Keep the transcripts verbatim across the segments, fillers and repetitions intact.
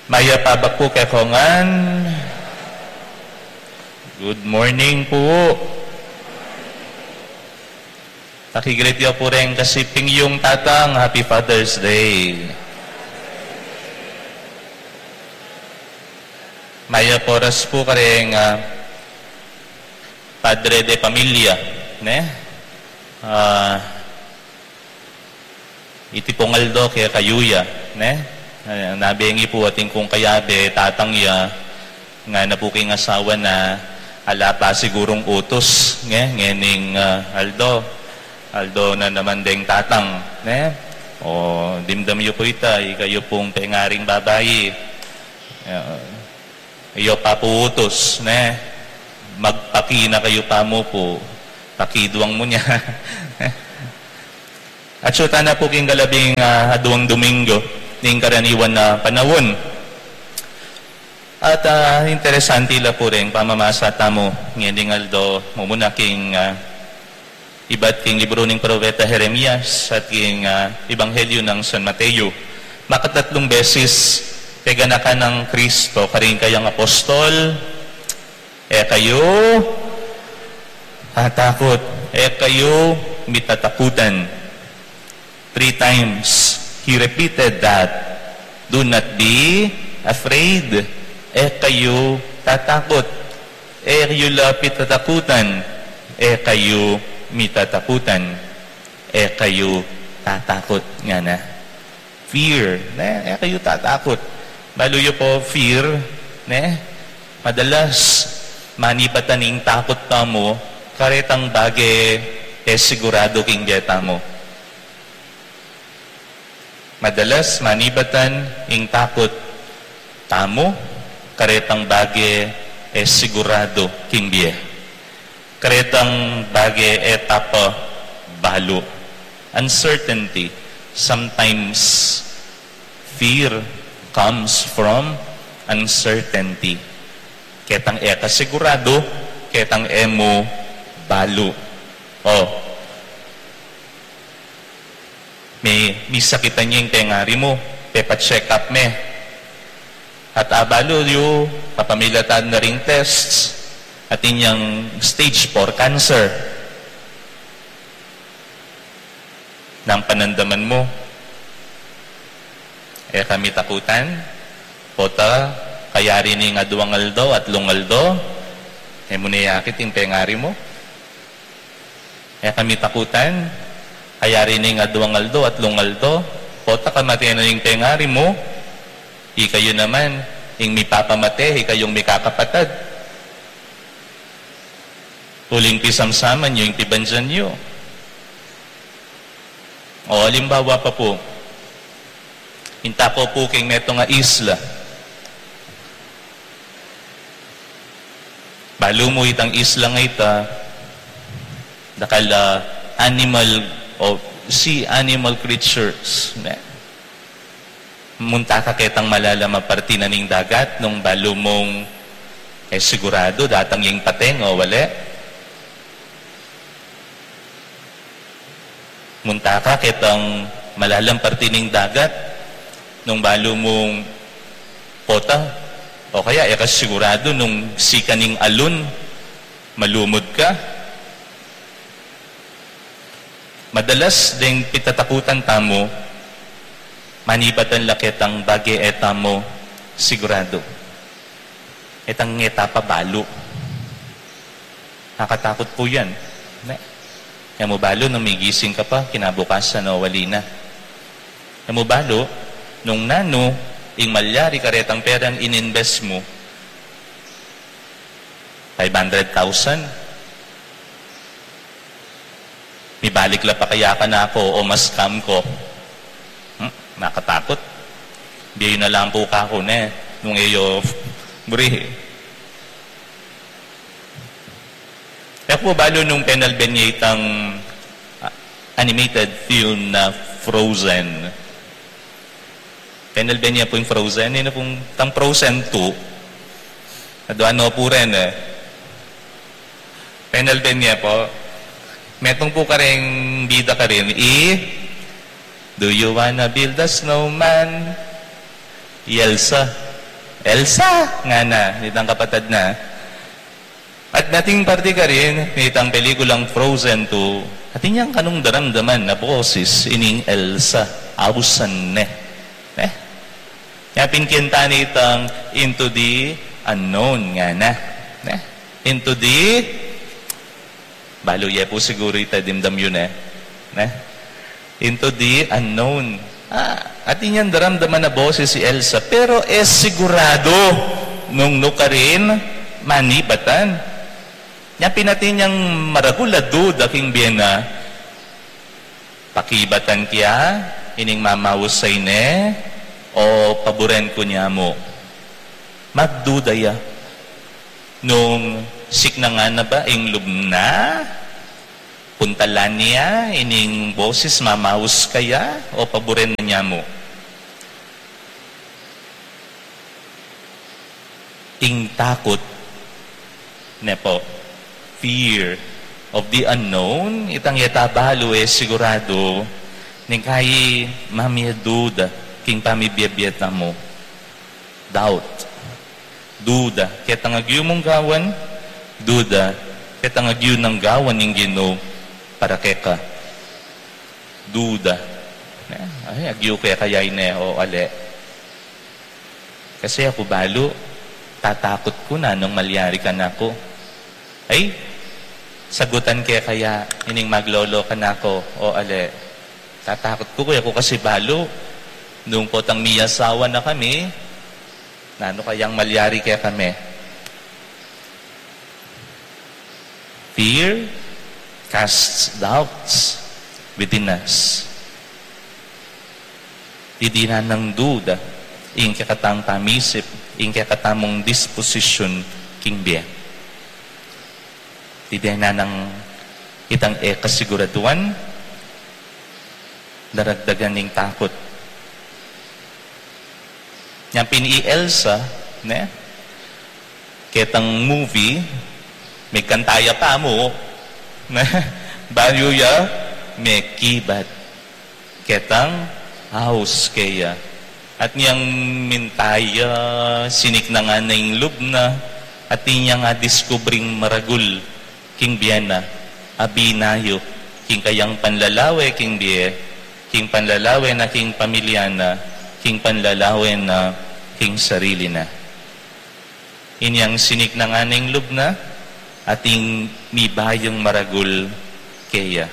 Mayap a abak pu kekongan. Good morning pu. Paki-greet yu pu reng kasiping yung tatang, Happy Father's Day. Mayap a oras pu kareng, ah, padre de pamilya, ne? Ah, iti pung aldo kekayu ya, ne? Ah, nabengi pu atin kung kayabe, tatang ya, ngana pu king asawa na ala pa sigurung utus, nge, ngening, ah, aldo. Aldo na naman deng tatang, ne? O, dimdam yu pu ita, ikayu pung pengaring babai. Ah, iyo pa pu utus, ne? Magpaki na kayu pa mu pu. Pakiduang mu nya. Atsu tana pu king kalabing, ah, aduang Domingo ning karaniwan a panaun. At, ah, interesante la pu reng pamamasa tamu ngening aldo, mumuna king, ah, ibat king libru ning propeta Jeremias at king, ah, Ebanghelyo nang San Mateo. Makatatlung beses peganakan nang Kristo karing kayang apostol, "E kayu tatakut, e kayu mitatakutan." Three times, he repeated that, "Do not be afraid." E kayu tatakut. E yu la pitatakutan. E kayu mitatakutan. E kayu tatakut, ngana. Fear, ne? E kayu tatakut. Balu yu pu, fear, ne? Madalas, manibatan ing takut tamu karetang bage e sigurado king bie tamu. Madalas, manibatan ing takut tamu karetang bage e sigurado king bie. Karetang bage e ta pa balu. Uncertainty. Sometimes, fear comes from uncertainty. Ketang e ka sigurado, ketang e mu balu. O, me, misakitan ya ing pengari mu, pepa-check up me. At abalu yu, kapamilatan na ring tests, at inyang stage four cancer. Nang panandaman mu, e ka mitakutan, pota, kayari ning aduang aldo, atlung aldo, e mu ne akit ing pengari mu. E ka mitakutan, kayari ning aduang aldo, atlung aldo, pota kamate na ning pengari mu, ikayu naman, ing mipapamate, ikayung mikakapatad. Uling pisamsaman yu ing pibandian yu. O, alimbawa pa pu, minta ko pu king metung a isla. Balu mu itang isla nga ita, dakal a animal o sea animal creatures, ne? Munta ka ketang malalam a parti na ning dagat nung balu mung e sigurado datang ing pateng o wale. Munta ka ketang malalam parti ning dagat nung balu mung pota, o kaya e ka sigurado nung sikan ning alon, malumud ka. Madalas deng pitatakutan tamu, manibatan la ketang bage e tamu sigurado. Ketang e ta pa balu. Nakatakut pu yan. Ne? E mu balu nung migising ka pa, kinabukasan o wali na. E mu balu nung nanu ing malyari karetang perang in-invest mu, five hundred thousand. Mibalik la pa kaya kanaku o ma-scam ku? Hmm? Nakatakut. Bie yu na lang pu kaku ne, nung e yu buri. E ku balu nung penalben ye itang, ah, animated film na Frozen. Penalben ye pu ing Frozen, ini pung tang Frozen two. Adua no pu rin e. Penalben ye pu. Metung pu karing bida karin, i, "Do you wanna build a snowman?" I Elsa. "Elsa!" ngana nitang kapatad na. At nating parte karin, nitang pelikulang Frozen two, atin yang kanung daramdaman a boses ining Elsa, ausan ne. Ne? Nya pin kanta nitang Into the Unknown ngana. Ne? Into the, balu ye pu siguru ita, dimdam yu ne. Ne? Into the Unknown. Ah, atin yang daramdaman a boses i Elsa, pero e sigurado nung nukarin manibatan. Nya pin atin yang maragul a duda king bie na, pakibatan ke ya ining mamausay ne o paburen ku ne mu? Magduda ya nung siknangan na ba ing lub na, puntalan ne ining boses, mamaus kaya o paburen na ne mu? Ing takut, ne pu, fear of the unknown, itang e ta balu, e sigurado, ning kai mamie duda king pamibie-bie tamu. Doubt. Duda ketang agyu mung gawan, duda ketang agyu nang gawan ning Ginu para keka. Duda. Ne? Ay, agyu ke kaya ine o ali? Kasi aku balu, tatakut ku nanung malyari kanaku. Ay, sagutan ke kaya ining maglolo kanaku o ali? Tatakut ku, e ku kasi balu, nung potang miyasawa na kami, nanu kayang malyari kekami? Fear casts doubts within us. Didinan nang duda ing kekatang pamisip, ing kekatamung disposisyun king bie. Didinan nang itang e kasiguraduan, daragdagan ning takut. Nya pin i Elsa, ne? Ketang movie, mekanta ya pa mu, ne? Bayu ya mekibat ketang aus keya. At niyang minta ya, siniknangan na ing lub na, at inyang adiskubring maragul king bie na, a binayu king kayang panlalawe king bie, king panlalawe na king pamilya na, king panlalawe na king sarili na. Inyang siniknangan ing lub na, ating mibayung maragul keya.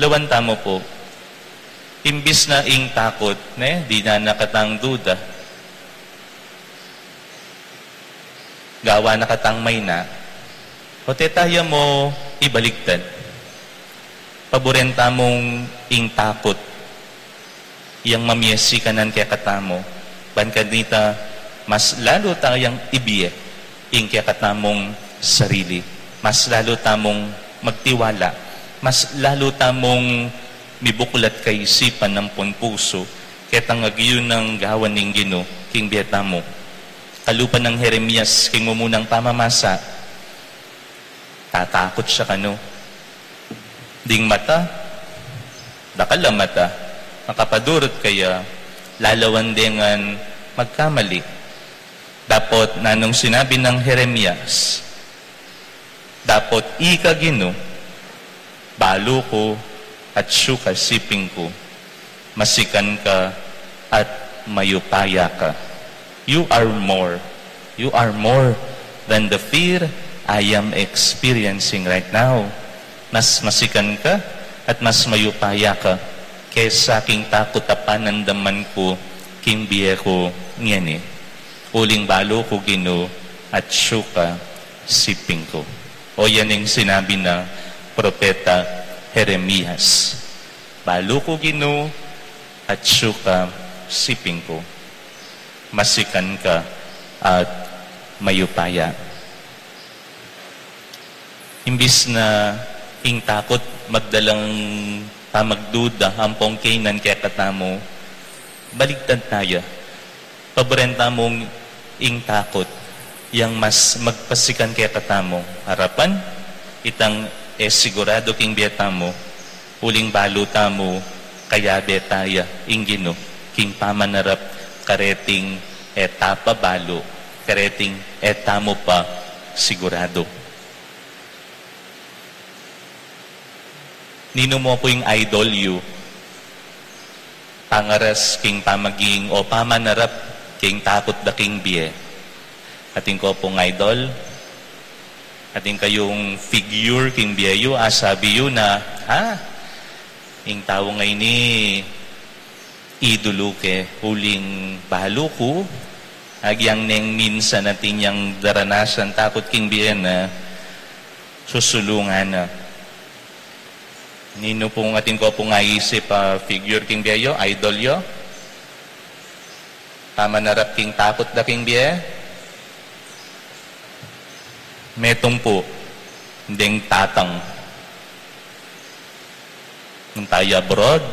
Lawan tamu pu, imbis na ing takut, ne, dinan na katang duda, gawan na katang mayna, o teta ya mu ibaligtad. Paburen tamung ing takut yang mamie sikanan kekatamu, ban kanita mas lalu tayang ibie ing kekatamung sarili, mas lalu tamung magtiwala, mas lalu tamung mibuklat kaisipan ampon pusu ketang agyu nang gawan ning Ginu king bie tamu. Kalupa nang Jeremias king mumunang pamamasa, tatakut ya kanu. Ding mata, dakal a mata, makapadurut kaya, lalawan de ngan magkamali. Dapot nanung sinabi nang Jeremias? Dapot ika Ginu, balu ku, atsu ka siping ku, masikan ka at mayupaya ka. You are more. You are more than the fear I am experiencing right now. Mas masikan ka at mas mayupaya ka kesa king takut a panandaman ku king bie ku ngeni. Uling balu ku Ginu, atsu ka siping ku. O yan ing sinabi nang propeta Jeremias. Balu ku Ginu, atsu ka siping ku. Masikan ka at mayupaya. Imbis na ing takut magdalang pamagduda ampong kainan kekatamu, baligtad taya. Paburen tamung ing takut yang mas magpasikan kekatamu. Arapan, itang e sigurado king bie tamu, uling balu tamu, kayabe taya ing Ginu king pamanarap kareting E ta pa balu, kareting e ta mu pa siguradu. Ninu mu pu ing idol yu, pangaras king pamaging o pamanarap king takut da king bie? Atin ko pung idol, atin kayung figure king bie yu, asabi yu na, ha? Ing tau ngeni idulu ke, uling balu ku, agyang neng minsan atin yang daranasan takut king bie na, susulungan na. Ninu pung atin ko pung aisip a figure king bie yu, idol yu? Pamanarap king takut da king bie? Metung pu, deng tatang. Nung tayu abroad,